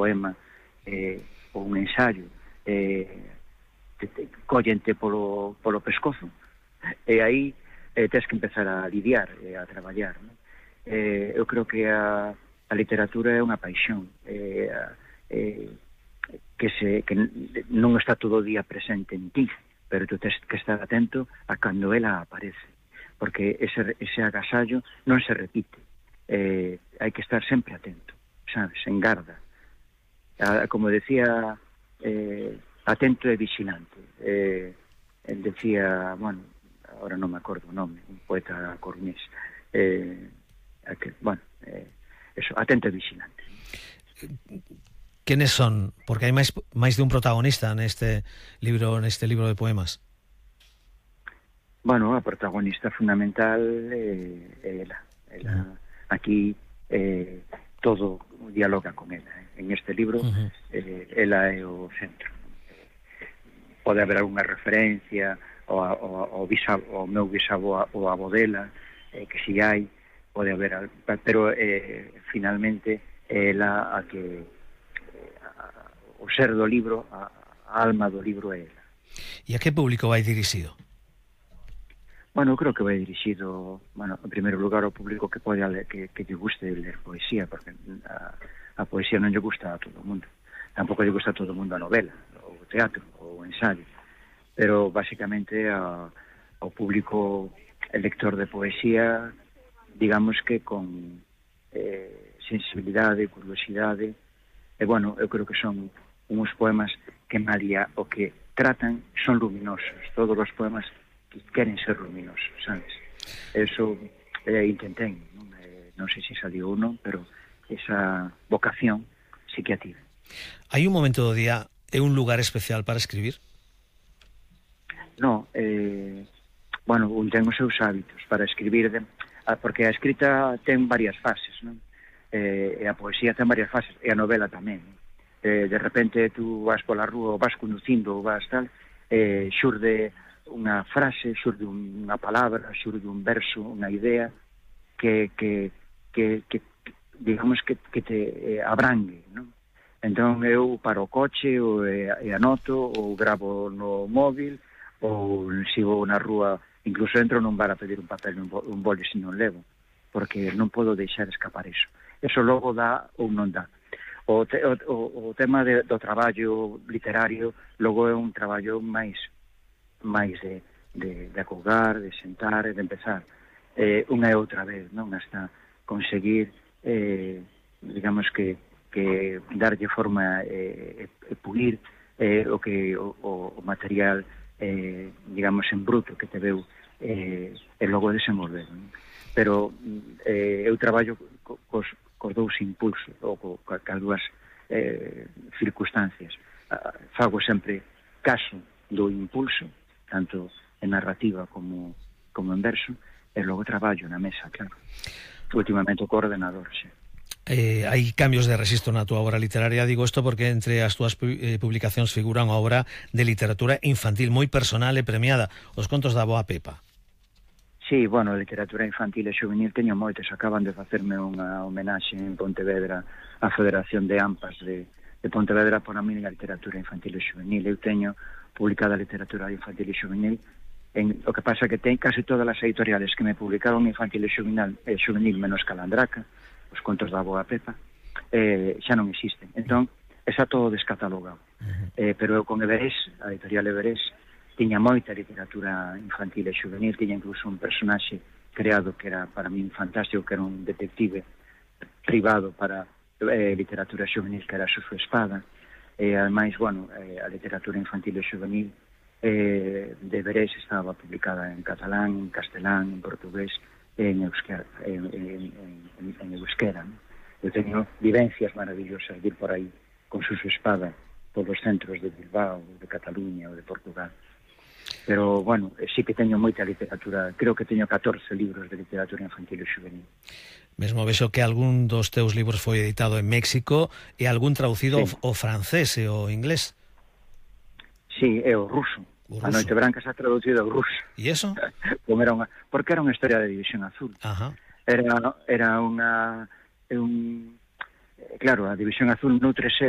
poema ou un ensayo collente polo pescozo, e aí tens que empezar a lidiar, a traballar, non? Eu creo que a literatura é unha paixón que non está todo o día presente en ti, pero tu tens que estar atento a cando ela aparece, porque ese agasallo non se repite. Hai que estar sempre atento, sabes, en garda. Como decía, atento e vigilante. Decía, bueno, ahora non me acordo o nome, un poeta coruñés, eso, atento e vigilante. ¿Quiénes son? Porque hai máis de un protagonista neste libro de poemas. Bueno, a protagonista fundamental é ela. Aquí todo dialoga con ela. En este libro ela é o centro. Pode haber algunha referencia ao meu bisavó ou avó dela, que si hai, pode haber, pero finalmente ela a que o ser do libro, a alma do libro é ela. E a que público vai dirixido? Bueno, creo que vai dirixido, en primeiro lugar, ao público que pode que lle guste ler poesía, porque a poesía non lle gusta a todo o mundo. Tampouco lle gusta a todo o mundo a novela, o teatro, o ensayo. Pero, basicamente, ao público lector de poesía, digamos que con sensibilidade, curiosidade, e, bueno, eu creo que son uns poemas que María o que tratan son luminosos. Todos os poemas que queren ser luminosos, sabes? Eso intentei, non sei se salió ou non, pero esa vocación sí que a tive. Hai un momento do día e un lugar especial para escribir? Non, un ten os seus hábitos para escribir, porque a escrita ten varias fases, non? E a poesía ten varias fases, e a novela tamén. De repente tú vas pola rúa, ou vas conducindo, ou vas tal, xurde unha frase, xurde unha palabra, xurde un verso, unha idea que digamos que te abrangue, non? Entón eu paro o coche e anoto, ou gravo no móvil, ou se vou na rúa, incluso entro nun bar a pedir un papel, un boli se non levo, porque non podo deixar escapar iso. Eso logo dá ou non dá. O tema do traballo literario logo é un traballo máis de acolgar, de sentar e de empezar unha e outra vez, non? Hasta conseguir digamos que darlle forma e pulir o material digamos en bruto que te veu e logo desenvolver, non? Pero eu traballo cos dous impulsos ou cas dúas circunstancias. Fago sempre caso do impulso, tanto en narrativa como en verso, e logo traballo na mesa, claro. Últimamente co ordenador, sí. Hai cambios de rexistro na túa obra literaria, digo isto porque entre as túas publicacións figura unha obra de literatura infantil moi personal e premiada, Os contos da Avoa Pepa. Sí, bueno, literatura infantil e xuvenil teño moitos. Acaban de facerme unha homenaxe en Pontevedra á Federación de AMPAs de Pontevedra por a miña literatura infantil e xuvenil. Eu teño publicada literatura infantil e xuvenil. O que pasa que ten casi todas as editoriales que me publicaron infantil e xuvenil menos Calandraca, Os contos da Avoa Pepa, xa non existen. Entón, está todo descatalogado. Pero eu con Everés, a editorial Everés, tiña moita literatura infantil e juvenil, tiña incluso un personaxe creado que era para min fantástico, que era un detective privado para literatura juvenil, que era Suso Espada, e ademais, a literatura infantil e juvenil de Everés estaba publicada en catalán, en castelán, en portugués e en euskera. Eu teño vivencias maravillosas de ir por aí con Suso Espada polos centros de Bilbao, de Cataluña ou de Portugal. Pero, sí que teño moita literatura, creo que teño 14 libros de literatura infantil e juvenil. Mesmo vexo que algún dos teus libros foi editado en México e algún traducido ao francés e ao inglés. Sí, é o ruso. A Noite Branca se ha traducido ao ruso. E eso? Porque era unha historia de División Azul. Ajá. Era unha claro, a División Azul nutre sede